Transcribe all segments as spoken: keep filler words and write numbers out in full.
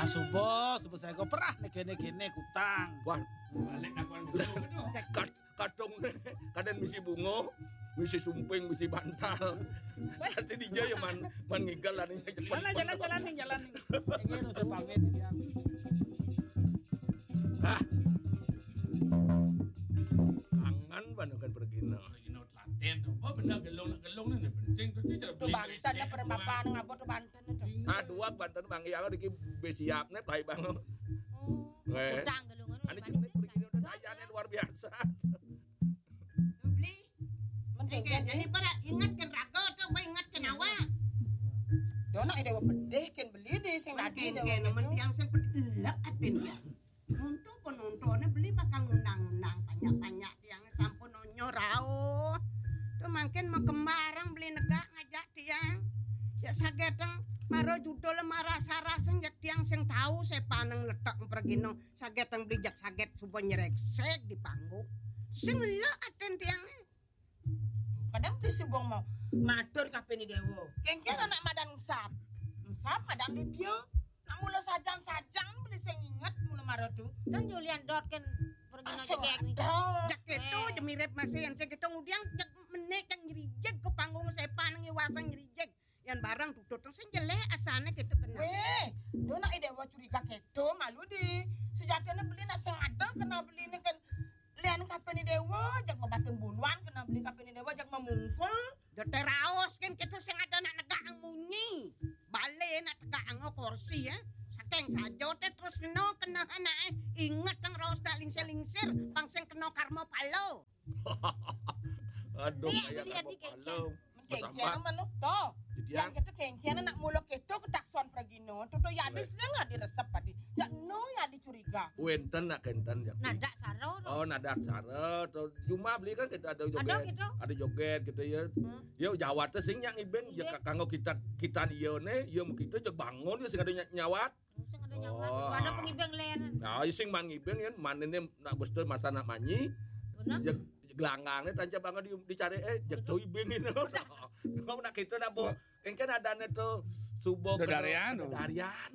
Suba, suba saéga perah né kéné-kéné kutang. Wah, balik takon dulu. Kat-, kadung né, kadén misi bunga, misi sumping, misi bantal. Ati dija ya man, man ngigel lan. Mana jalan-jalan nih, jalan nih. Ini udah pamit ya. Ah. Angan banget kan pergi no. Pergi no telaten, apa benda gelung nak gelung ni penting tu tu cara. Tu banten lah perempuan ngabot tu banten tu. Ah, dua banten bang yang ada ki besiap ni pai bang. Oh. Weh. Udang gelung anu. Ani cik ni pergi ni udah tajane luar biasa. Beli. Mending jadi pada ingat kan raga tu, ba ingat kan awak. Dia nak ada pedih kan beli ni sing tadi. Mending kan yang sing pedih lek atin ya. Untuk penontonnya beli bakal ngundang-ngundang banyak-banyak tiang sampun onyo rauh. Tu mangkin makembarang beli negak ngajak tiang. Ya sageteng mara judul mara saraseng ya tiang sing tahu saya paneng letak pergino. Sageteng beli jak saget suba nyereksek di panggung. Sing lek aten tiang. Kadang beli suba mau matur kape ni dewa. Kengkir anak madan ensap. Ensap madan libya. Nak mula sajan-sajan beli sing inget mula mara tu. Kan Julian dot kan pergi nak jegek ni. Jak keto je mirip masih yang sing keto ngudiang jak menek yang nyerijek ke panggung sepan nang iwasan nyerijek. Yang barang tutut sing jelek asane keto kena. Weh, do nak idewa curiga keto malu di. Sejatine beli nak sengada kena beli ni kan lian kape ni dewa jak ngebatun buluan kena beli kape ni dewa jak memungkul. Jote raos kan kita sing ada nak negak ang munyi. Bale nak tegak ang kursi ya. Saking sajote terus no kena anak eh. Ingat ang raos dak lingsir-lingsir. Bang sing kena karma palo. Aduh, iya, kayak beli karma palo. Kengkian mana? Toh. Yang kita kengkian nak mula kita ketakson pergino. Tu tu ya di sing lah diresep tadi. Jak no ya dicuriga. Wenten nak kenten jak. Nadak saro. Oh, nadak saro. Tu cuma beli kan kita ada joget. Ada joget kita ya. Ya Jawa tu sing yang ibeng ya kanggo kita kita dia ne, ya mau kita je bangun ya sing ada nyawat. Sing ada nyawat. Ada pengibeng len. Nah, sing mangibeng ya mana ne nak bestu masa nak manyi. Benar. Je gelanggang ne tancap banget di dicari eh je tu ibeng ini. Kau nak kita nak bo. Kan kan ada ne tu subo darian. Darian.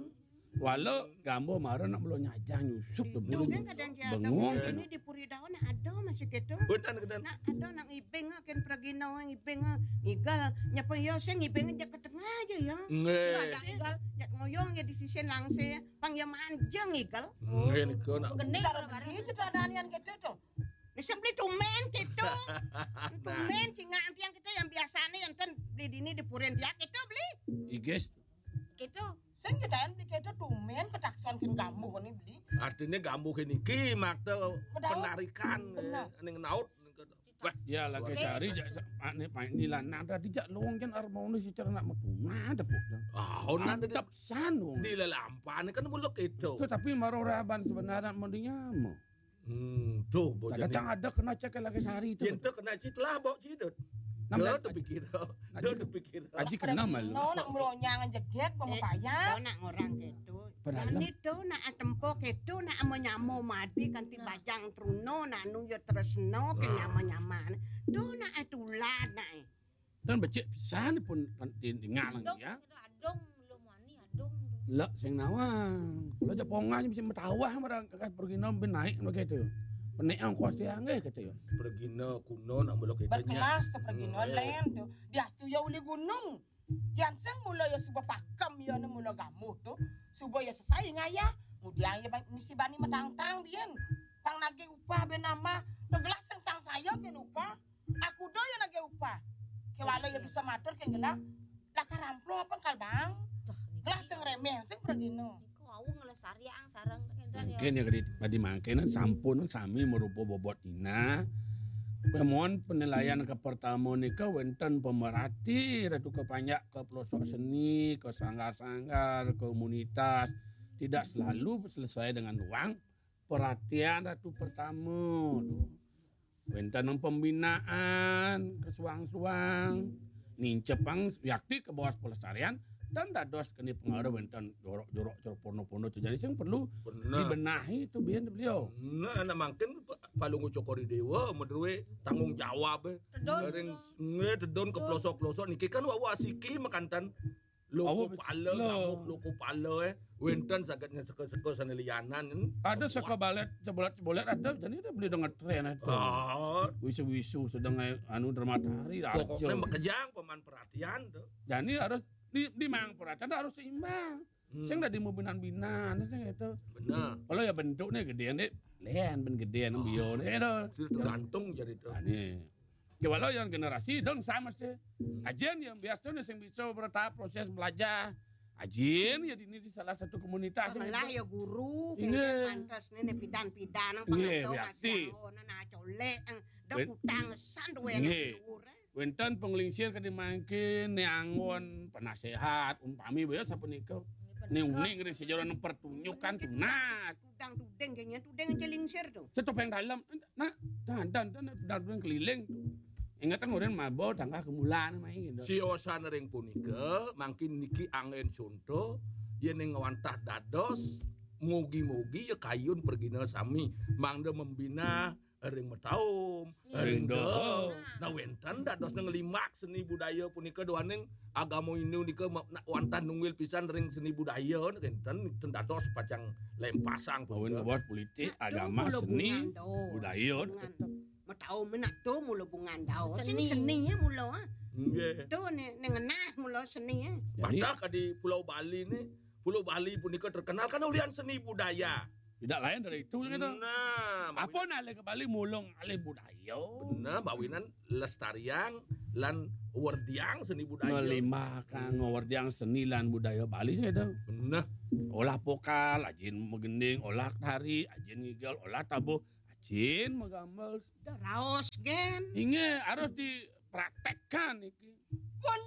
Wala gambo mara nak mula nyajang nyusup tu bulu. Bengong. Ini di puri daun nak ada masih gitu. Betul betul. Nak ada nak ngibeng kan pergi nak ngibeng ngigal nyapa ya saya ngibeng aja ke tengah aja ya. Ngigal. Jak ngoyong ya di sisi langse pang ya manjang ngigal. Ngigal kau nak. Cara beli kita ada nian gitu tu. Ni sing beli tumen gitu. Tumen singa yang kita yang biasa ni yang ten beli dini di puren dia gitu beli. Igis. Gitu. Sing kita yang beli gitu tumen ketaksan kin gambuh ni beli. Artinya gambuh ini ki makta penarikan ning naut. Wah, ya lagi sehari jak ane panik ni lanang tadi jak long kan armau ni secara nak metu. Nah, tepuk. Ah, onan tadi. Mantap san wong. Di lelampan kan muluk itu. Tu tapi maro raban sebenarnya mending nyamo. Hmm, tu bocah. Kacang ada kena cek lagi sehari tu. Yen tu kena cit lah bok cidut. Nama tu pikir. Aji kena malu. No nak melonyang jeget mau payas. Kau nak ngorang gitu. Padahal ini tu nak tempo gitu nak amo nyamo mati kanti bajang truno nak nu yo tresno ke nyama-nyama. Tu nak tulan nak eh. Tan becik pisan pun tinggal lagi ya. Adong, adong, belum wani, adong. Lek sing nawang. Kalau Japong aja bisa metawah marang kakas pergi nom ben naik begitu. Penek ongkos dia nggih gitu ya. Pergina kuno nak mula kita. Berkelas tu pergina lain tu. Dia tu ya uli gunung. Yang sing mula ya suba pakem ya ne mula gamuh tu. Suba ya sesai ngaya. Kemudian ya misi bani metangtang dia. Pang nagih upah ben nama. Tegelas sing sang saya ke upah. Aku do ya nagih upah. Kewala ya bisa matur kan kena. Lah karamplo apa kal bang? Kelas sing remeh sing pergino. Iku wau ngelestariang sareng enten ya. Mungkin ya kadi padi mangkene sampun sami merupa bobot ina. Mohon penilaian ke pertama nika wenten pemerhati ratu ke panjak ke pelosok seni, ke sanggar-sanggar, komunitas tidak selalu selesai dengan uang. Perhatian ratu pertama tu. Wenten pembinaan ke suang-suang. Nincepang yakti ke bawah pelestarian dan dados keni pengaruh wenten jorok-jorok cara pono-pono tu. Jadi sing perlu dibenahi tu biyen beliau. Nah, anak mangkin Palungguh Cokor Dewa madruwe tanggung jawab eh. Tedun. Ring nge tedun ke pelosok-pelosok niki kan wawa siki makantan. Loko pala, ngamuk loko pala, eh. Wénten saged nyeseka-seka sané lianan. Ada seka balét, cebolat-cebolat ada, jani ada beli dengan tren itu. Ah. Wisu-wisu sedang, eh, anu, drama tari, pokoknya makejang paman perhatian tuh. Jani harus di, di mang perhatian harus seimbang. Hmm. Sing dadi mabinan-binan, sing itu. Bener. Kalau ya bentuknya gedéan deh, lén ben gedéan bioné itu. Sudah tergantung jadi itu. Jani. Ya, walau yang generasi dong sama sih. Ajén yang biasanya sing bisa bertahap proses belajar. Ajén ya di ini di salah satu komunitas. Malah ya guru, pantes nih pidan-pidan nang pangado masih angon, nah colek, dah utang san duwe nang luhur. Wénten panglingsir kadé mangkin, né anggon penaséhat, umpami baya sapunika. Né uning ring sajeroning pertunjukan tunas. Tudang tuding kayaknya, tuding aja lingsir tuh. Setopeng dalem, nah, dan, dan, dan, dan, dan keliling tuh. Inget ngorin maba tangkah kemulan main gitu. Siosan ring punika, mangkin niki anggén conto, yén ing wantah dados, mugi-mugi ya kayun pragina sami, mangda membina ring mataum, ring doa. Nah, wénten dados nglimbak seni budaya punika duaning agama Hindu nika ma-, na-, wantah nunggil pisan ring seni budaya, wénten, wénten dados pacang lempasang punika. Nah, buat politik, agama, seni, budaya. Mataum nak to mula bungan dao. Seni. Seni, seni ya mula, ah. Nggih. To né, né ngenah mula seni, ah. Jadi, padahal di Pulau Bali nih, Pulau Bali punika terkenal kan ulian seni budaya. Tidak lain dari itu, gitu. Nah, apa alih ke Bali mulung alih budaya. Bener, mawinan lestariang lan werdiang seni budaya. Ngelimbah kang werdiang seni lan budaya Bali, gitu. Bener. Olah pokal, ajin magending, olah tari, ajin ngigel, olah tabuh, ajin magambar. Dah raos, gén. Inggih, harus dipraktekkan iki.